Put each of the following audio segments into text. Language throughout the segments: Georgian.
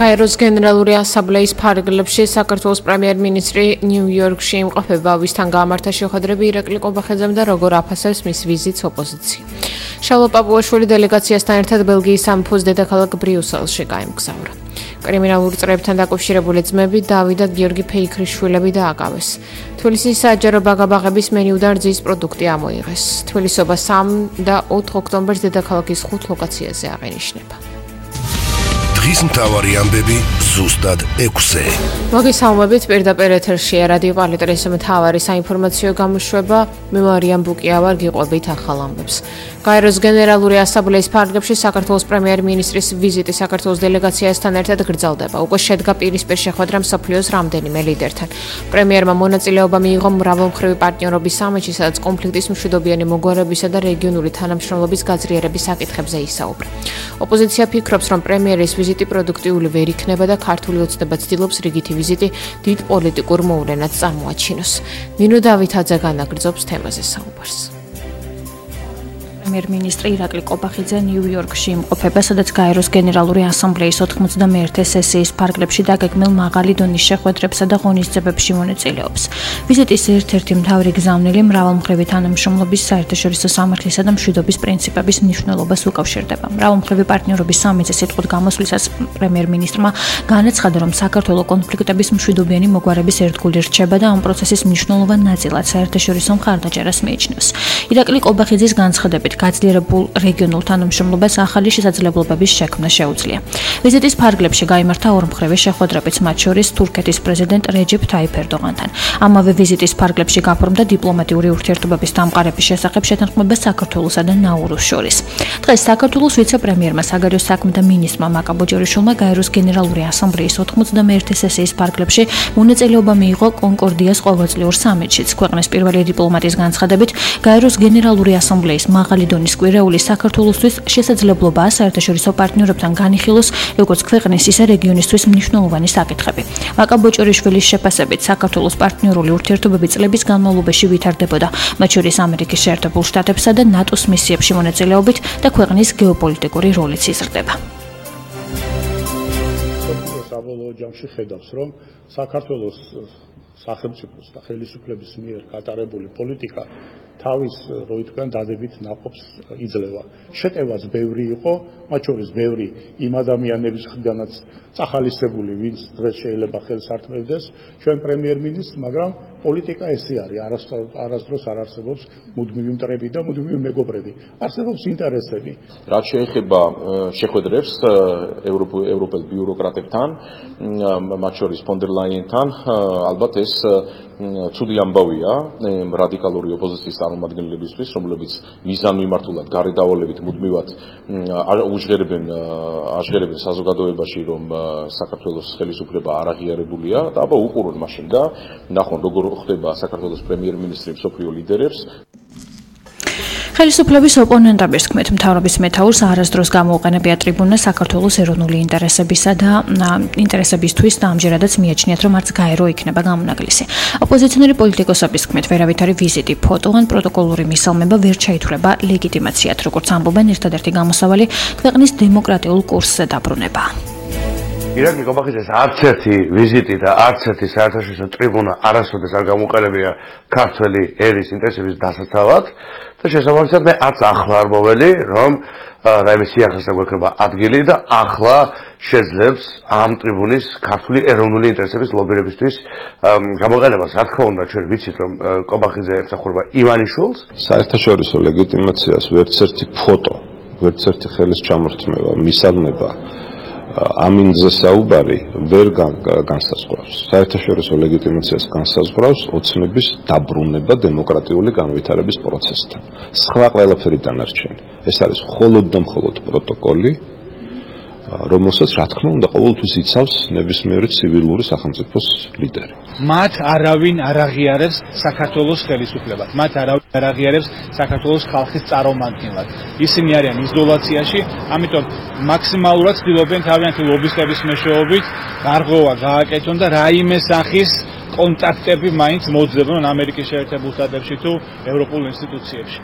გაეროს გენერალური ასამბლეის ფარგლებში საქართველოს პრემიერ-მინისტრი ნიუ-იორკში იმყოფება, ვისთან გაამართა შეხვედრები ირაკლი ყობახიძემ და როგორ აფასებს მის ვიზიტს ოპოზიცია. შალვა პაპუაშვილი დელეგაციასთან ერთად ბელგიის სამეფოს დედაქალაქ ბრიუსელში გაემგზავრა. კრიმინალურ წრეებთან დაკავშირებული ძმები დავით და გიორგი ფეიქრიშვილები დააკავეს. თბილისის საჯარო ბაგაბაღების მენიუდან რძის პროდუქტი ამოიღეს. თბილისობა 3 და 4 ოქტომბერს დედაქალაქის 5 ლოკაციაზე აღენიშნება. დღის მთავარი ამბები ზუსტად 6-ზე. მოგესალმებით, პირდაპირ ეთერშია რადიო პალიტრის მთავარი საინფორმაციო გამოშვება. მე მარიამ ბუკია ვარ, გიყვებით ახალ ამბებს. გაეროს გენერალური ასამბლეის ფარგლებში საქართველოს პრემიერ-მინისტრის ვიზიტი საქართველოს დელეგაციასთან ერთად გრძელდება. უკვე შედგა პირისპირ შეხვედრა მსოფლიოს რამდენიმე ლიდერთან. პრემიერმა მონაწილეობა მიიღო მრავალმხრივი პარტნიორობის სამიტში, სადაც კონფლიქტის მშვიდობიანი მოგვარებისა და რეგიონული თანამშრომლობის გაძლიერების საკითხებზე ისაუბრა. ოპოზიცია ფიქრობს, რომ პრემიერის ვიზიტი პროდუქტიული ვერ იქნება და ქართული ოცნება ცდილობს რიგითი ვიზიტი დიდ პოლიტიკურ მოვლენად წარმოაჩინოს. ნინო დავითაძე განაგრძობს თემაზე საუბარს. პრემიერ-მინისტრი ირაკლი ყობახიძე ნიუ-იორკში იმყოფება, სადაც გაეროს გენერალური ასამბლეის 91 სესიის ფარგლებში დაგეგმილ მაღალი დონის შეხვედრებსა და ღონისძიებებში მონაწილეობს. ვიზიტის ერთ-ერთი მთავარი გზავნილი მრავალმხრივი თანამშრომლობის, საერთაშორისო სამართლისა და მშვიდობის პრინციპების მნიშვნელობას უკავშირდება. მრავალმხრივი პარტნიორობის სამიტზე სიტყვით გამოსვლისას პრემიერ-მინისტრმა განაცხადა, რომ საქართველოს კონფლიქტების მშვიდობიანი მოგვარების ერთგული რჩება და ამ პროცესის მნიშვნელოვან ნაწილად საერთაშორისო მხარდაჭერას მიიჩნევს. ირაკლი ყობახიძის განცხადებით გაძლიერებულ რეგიონულ თანამშრომლობას ახალი შესაძლებლობების შექმნა შეუძლია. ვიზიტის ფარგლებში გაიმართა ორმხრივი შეხვედრებიც, მათ შორის თურქეთის პრეზიდენტ რეჯეფ თაიფ ერდოღანთან. ამავე ვიზიტის ფარგლებში გაფორმდა დიპლომატიური ურთიერთობების დამყარების შესახებ შეთანხმება საქართველოსა და ნაურუს შორის. დღეს საქართველოს ვიცე-პრემიერმა, საგარეო საქმეთა მინისტრმა მაკა ბოჭორიშვილმა გაეროს გენერალური ასამბლეის 91 სესიის ფარგლებში მონაწილეობა მიიღო კონკორდიას ყოველწლიურ სამიტშიც. ქვეყნის პირველი დიპლომატის განცხადებით, გაეროს გენერალური ასამბლეის მაღალი დონის კვირეული საქართველოსთვის შესაძლებლობაა საერთაშორისო პარტნიორებთან განიხილოს როგორც ქვეყნის, ისე რეგიონისთვის მნიშვნელოვანი საკითხები. მაკა ბოჭორიშვილის შეფასებით, საქართველოს პარტნიორული ურთიერთობები წლების განმავლობაში ვითარდებოდა, მათ შორის ამერიკის შეერთებულ შტატებსა და ნატოს მისიებში მონაწილეობით და ქვეყნის გეოპოლიტიკური როლიც იზრდება. საბოლოო ჯამში ხედავს, რომ საქართველოს სახელმწიფოს და ხელისუფლების მიერ გატარებული პოლიტიკა თავის როიტკან დადებით ნაყოფს იძლევა. შეტევაც ბევრი იყო, მათ შორის ბევრი იმ ადამიანების მხრიდანაც წახალისებული, ვინც დღეს შეიძლება ხელს ართმევდეს ჩვენ პრემიერ-მინისტრს, მაგრამ პოლიტიკა ესე არის, არასდროს არ არსებობს მუდმივი მტრები და მუდმივი მეგობრები. არსებობს ინტერესები. რაც შეეხება შეხვედრებს ევროპელ ბიუროკრატებთან, მათ შორის ფონ დერ ლაიენთან, ალბათ ეს ცუდი ამბავია რადიკალური ოპოზიციის წარმომადგენლებისთვის, რომლებიც მიზანმიმართულად გარედავალებით მუდმივად აჟღერებენ საზოგადოებაში, რომ საქართველოს ხელისუფლება არ აღიარებულია და აბა უყურონ მაშინ და ნახონ როგორ ხდება საქართველოს პრემიერ-მინისტრი მსოფლიო ლიდერებს. ხელისუფლების ოპონენტების თქმით, მთავრობის მეთაურს არასდროს გამოუყენებია ტრიბუნა საქართველოს ეროვნული ინტერესებისა და ინტერესებისთვის და ამჯერადაც მიაჩნიათ, რომ არც გაერო იქნება გამონაკლისი. ოპოზიციონერი პოლიტიკოსების თქმით, ვერავითარი ვიზიტი, ფოტო ან პროტოკოლური მისალმება ვერ ჩაითვლება ლეგიტიმაციად, როგორც ამბობენ, ერთადერთი გამოსავალი ქვეყნის დემოკრატიულ კურსზე დაბრუნება. ირაკლი ყობახიძეს არც ერთი ვიზიტი და არც ერთი საერთაშორისო ტრიბუნა არასოდეს არ გამოყენებია ქართველი ერის ინტერესების დასაცავად და შესაბამისად მე არც ახლა არ მოველი, რომ რაიმე სიახლესა გვექნება ადგილი და ახლა შეძლებს ამ ტრიბუნის ქართული ეროვნული ინტერესების ლობირებისთვის გამოყენებას. რა თქმა უნდა, ჩვენ ვიცით, რომ ყობახიძე ემსახურება ივანიშვილს. საერთაშორისო ლეგიტიმაციას ვერც ერთი ფოტო, ვერც ერთი ხელის ჩამორთმევა, მისალმება ამინზე საუბარი ვერ განსაზღვრავს. საერთაშორისო ლეგიტიმაციას განსაზღვრავს ოცნების დაბრუნება დემოკრატიული განვითარების პროცესთან. სხვა ყველაფერი დანარჩენი. ეს არის მხოლოდ და მხოლოდ პროტოკოლი, რომელსაც რა თქმა უნდა ყოველთვის იცავს ნებისმიერი ცივილური სახელმწიფოს ლიდერი. მათ არავინ არ აღიარებს საქართველოს ხელისუფლებას. მათ არავინ არ აღიარებს საქართველოს ხალხის წარმომადგენლად. ისინი არიან იზოლაციაში, ამიტომ მაქსიმალურად ცდილობენ თავიანთი ლობისტების მეშვეობით გარღვევა გააკეთონ და რაიმე სახის კონტაქტები მაინც მოძებნონ ამერიკის შეერთებულ შტატებში თუ ევროპულ ინსტიტუციებში.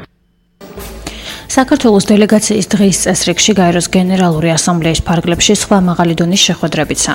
საქართველოს დელეგაციის დღის წესრიგში გაეროს გენერალური ასამბლეის ფარგლებში სხვა მაღალი დონის შეხვედრებიც